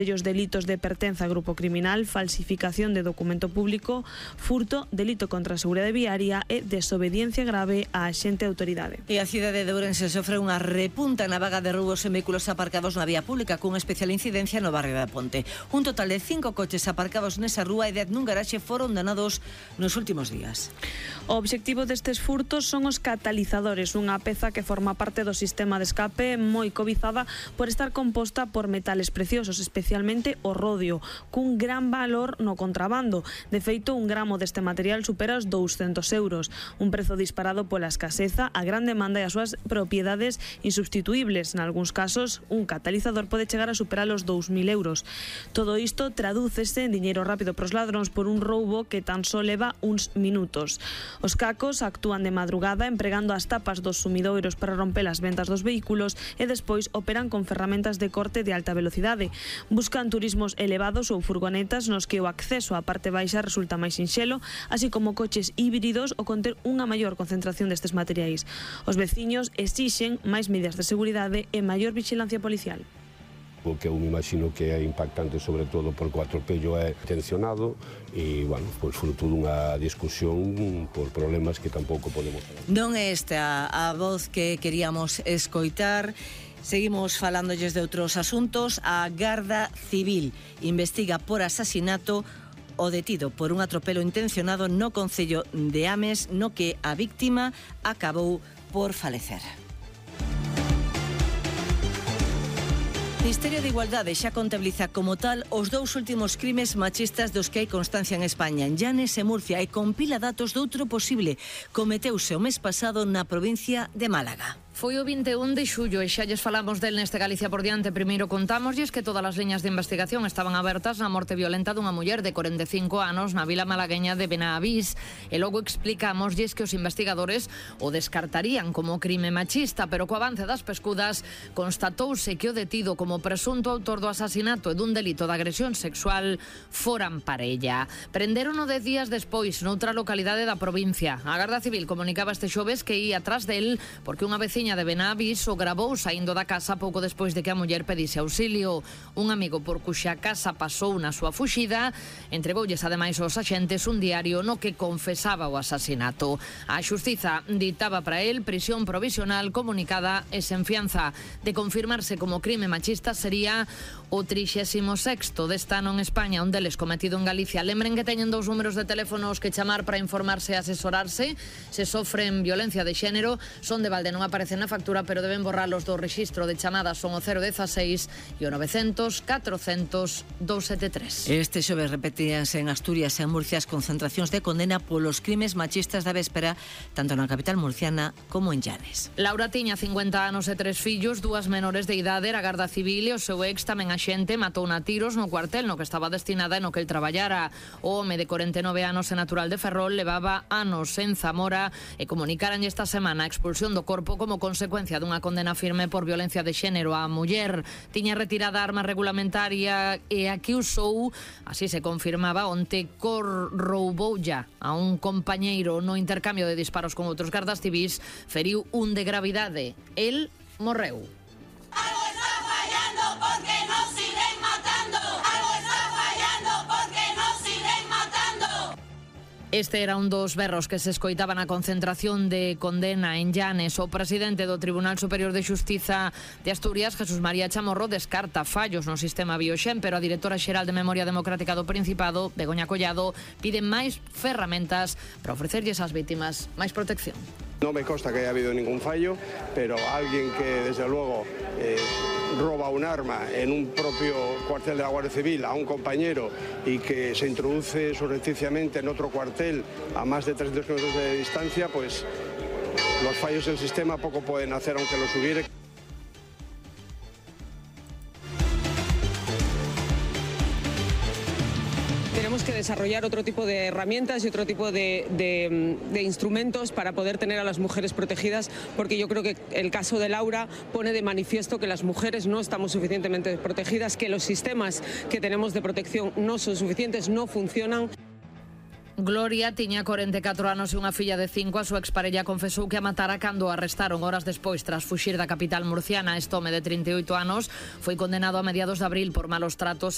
Os delitos de pertenza a grupo criminal, falsificación de documento público, furto, delito contra a seguridade viaria e desobediencia grave á axente autoridade. E a cidade de Ourense sofre unha repunta na vaga de roubos en vehículos aparcados na vía pública cunha especial incidencia no barrio da Ponte. Un total de 5 coches aparcados nesa rúa e 10 nun garaxe foron danados nos últimos días. O obxectivo destes furtos son os catalizadores, unha peza que forma parte do sistema de escape moi cobizada por estar composta por metales preciosos, especialmente o rodio, cun gran valor no contrabando. De feito, un gramo deste material supera os 200 euros, un prezo disparado pola escaseza, a gran demanda e as súas propiedades insubstituibles. En algúns casos, un catalizador pode chegar a superar os 2.000 euros. Todo isto tradúcese en diñeiro rápido pros ladróns por un roubo que tan só leva uns minutos. Os cacos actúan de madrugada empregando as tapas dos sumidoiros para romper as ventas dos vehículos e despois operan con ferramentas de corte de alta velocidade. Buscan turismos elevados ou furgonetas nos que o acceso á parte baixa resulta máis sinxelo, así como coches híbridos ou conter unha maior concentración destes materiais. Os veciños exixen máis medidas de seguridade e maior vigilancia policial. O que eu me imagino que é impactante sobre todo porque o atropello é intencionado e, bueno, pois fruto dunha discusión por problemas que tampouco podemos falar. Non é esta a voz que queríamos escoitar. Seguimos falándoles de outros asuntos. A Garda Civil investiga por asasinato o detido por un atropelo intencionado no concello de Ames, no que a víctima acabou por falecer. O Ministerio de Igualdade xa contabiliza como tal os dous últimos crimes machistas dos que hai constancia en España, en Llanes e Murcia, e compila datos doutro posible. Cometeuse o mes pasado na provincia de Málaga. Foi o 21 de xullo e xa lles falamos del neste Galicia por diante. Primeiro contámoslles que todas as liñas de investigación estaban abertas na morte violenta dunha muller de 45 anos na vila malagueña de Benavís e logo explicámoslles que os investigadores o descartarían como crime machista, pero co avance das pescudas constatouse que o detido como presunto autor do asasinato e dun delito de agresión sexual foran parella. Prenderono 10 días despois noutra localidade da provincia. A Garda Civil comunicaba este xoves que ia atrás del porque unha veciña de Benavís o gravou saindo da casa pouco despois de que a muller pedise auxilio. Un amigo por cuxa casa pasou na súa fuxida entregoulles ademais aos axentes un diario no que confesaba o asasinato. A xustiza ditaba para el prisión provisional comunicada e sen fianza. De confirmarse como crime machista sería o 36º deste ano en España, un deles cometido en Galicia. Lembren que teñen dous números de teléfonos que chamar para informarse e asesorarse se sofren violencia de xénero. Son de balde, non aparecen na factura, pero deben borralos do rexistro de chamadas. Son o 016 e o 900 400 273. Este xoves repetíanse en Asturias e en Murcia as concentracións de condena polos crimes machistas da véspera, tanto na capital murciana como en Llanes. Laura tiña 50 anos e 3 fillos, 2 menores de idade. A Garda Civil e o seu ex tamén axente matou a tiros no cuartel no que estaba destinada e no que el traballara. O home de 49 anos e natural de Ferrol levaba anos en Zamora e comunicaran esta semana a expulsión do corpo como consecuencia dunha condena firme por violencia de xénero. A muller tiña retirada a arma regulamentaria e a que usou, así se confirmaba onte, rouboulla a un compañeiro no intercambio de disparos con outros gardas civís, feriu un de gravidade. El morreu. Algo está fallando porque nos siguen matando. Algo está fallando porque nos siguen matando. Este era un dos berros que se escoitaban na concentración de condena en Llanes. O presidente do Tribunal Superior de Xustiza de Asturias, Jesús María Chamorro, descarta fallos no sistema Bioxen, pero a directora xeral de Memoria Democrática do Principado, Begoña Collado, pide máis ferramentas para ofrecerlles ás vítimas máis protección. No me consta que haya habido ningún fallo, pero alguien que desde luego roba un arma en un propio cuartel de la Guardia Civil a un compañero y que se introduce surrepticiamente en otro cuartel a más de 300 kilómetros de distancia, pues los fallos del sistema poco pueden hacer aunque los hubiere. Tenemos que desarrollar otro tipo de herramientas y otro tipo de instrumentos para poder tener a las mujeres protegidas, porque yo creo que el caso de Laura pone de manifiesto que las mujeres no estamos suficientemente protegidas, que los sistemas que tenemos de protección no son suficientes, no funcionan. Gloria tiña 44 anos e unha filla de 5. A súa exparella confesou que a matara cando a arrestaron horas despois tras fuxir da capital murciana. Este home de 38 anos foi condenado a mediados de abril por malos tratos